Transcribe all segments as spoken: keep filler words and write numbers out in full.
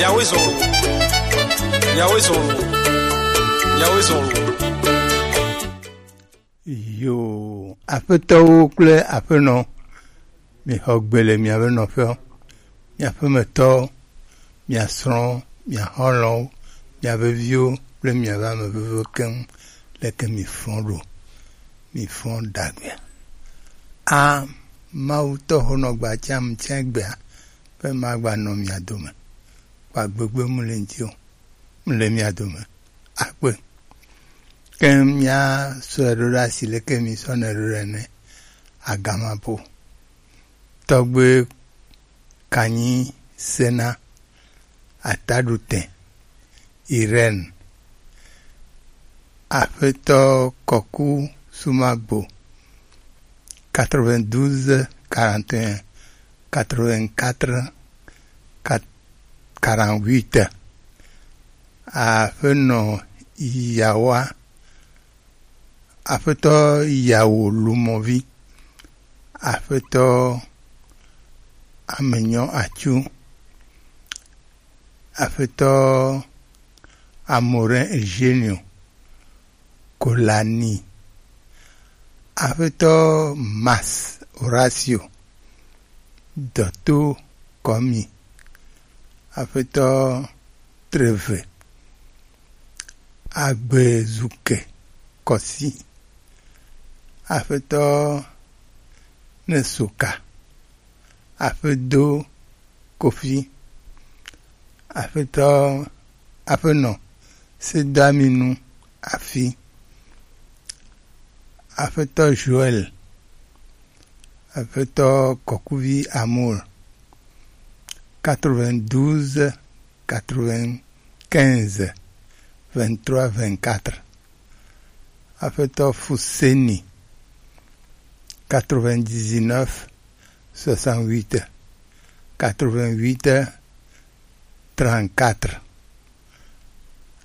Yahweh zɔn o. Yahweh zɔn o. Yahweh zɔn o. Yo, aƒetɔwo kple aƒenɔ, mixɔ gbe le miaƒe nɔƒewo. Miaƒemetɔwo, mia srɔ̃wo, mia xɔlɔ̃wo, mia veviwo kple miaƒe ame veviwo keŋ, leke mifɔ ɖo? Mifɔ ɖagbea? A, Mawu tɔ ho nɔ gba tiam tsɛ gbea, be magba nɔ mia dome. Kpa gbegbe mu le ŋuti o. Mu le mia dome. Akpe. Ke mia sɔe ɖo ɖe asi leke mi sɔnɛ ɖo ɖe ene. Agamapo. Tɔgbe Kanyi Sena, Ataɖutɛ, Irène, Aƒetɔ Kɔku Sumagbo, quatre-vingt-douze quarante et un quatre-vingt-quatre quarante-huit. Aƒenɔ Yawa, Aƒetɔ Yawo Lumɔvi, Aƒetɔ Amenyɔ Atsu, Aƒetɔ Amorin Eugenio, Kolani, Aƒetɔ Mas Horacio, Dɔto Kɔmi, Aƒetɔ Treve, Agbezuke Kɔsi, Aƒetɔ Nesoka, Aƒedo Kofi, Aƒetɔ, Aƒenɔ Sedaminu Afi, Aƒetɔ Joël, Aƒetɔ Kɔkuvi Amour, quatre-vingt-douze quatre-vingt-quinze vingt-trois vingt-quatre. Aƒetɔ Fuseni, quatre-vingt-dix-neuf soixante-huit quatre-vingt-huit trente-quatre.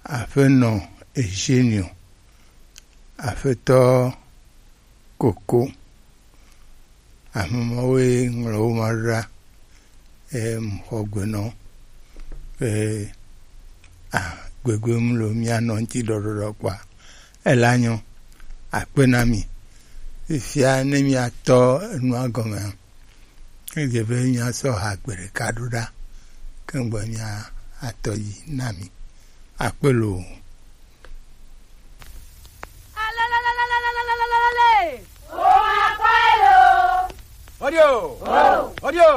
Aƒenɔ Eugenio, Aƒetɔ Koko. Ame mawoe ŋlɔ wo ma ɖo ɖa. Em, xɔ gbe nɔ. E, a, gbegbe mu lo mia nɔ ŋuti ɖɔɖɔɖɔ kpɔa. Ela nyɔ. Akpe na mi. Fifia ne mia tɔ enua gɔmea, edze be mia sɔ ha gbe ɖeka ɖo ɖa. Ke ŋgbe mia atɔ yi na mi. Akpe loo. Audio. Audio.